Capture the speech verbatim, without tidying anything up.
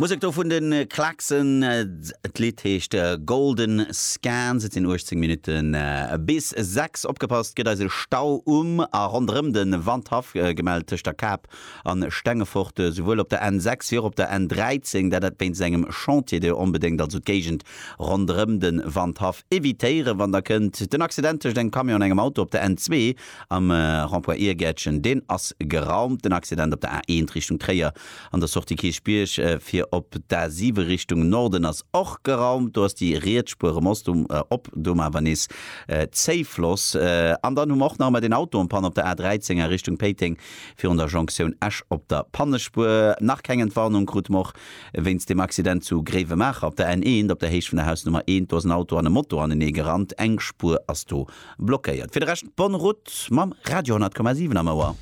Musek do vun de Klaxon, d'Lidd heescht Golden Scans. Et sinn uechtzéng Minutte bis sechs. Opgepasst, gëtt eis e Stau um a ronderëm de Wandhaff gemellt tëscht der Kap an Stengefort, souwuel op der N sechs wéi och op der N dräizéng. Dat wéinst engem Chantier, dee onbedéngt also d'Géigend ronderëm de Wandhaff evitéieren, wann der kënnt. Den Accident tëscht engem Camion an engem Auto op der N zwee am Rond-point Iergäertchen, deen ass geraumt. Den Accident op der A eent Richtung Tréier an der Sortie Kierchbierg fir op d'A siwe Richtung Norden ass och geraumt. Do ass déi riets Spuer erëm op, do awer nees Zéifloss. An dann hu mer och nach ëmmer deen Auto en panne op der A dräizéng a Richtung Péiteng virun der Jonktioun Esch op der Pannespuer. Nach keng Entwarnung krute mer och wéinst dem Accident zu Gréiwemaacher op der N eent op der Héicht vun der Hausnummer eent. Do ass en Auto an e Moto anenee gerannt, eng Spuer ass do blockéiert. Fir de Rescht bonne route mam Radio honnert Komma siwen am Ouer.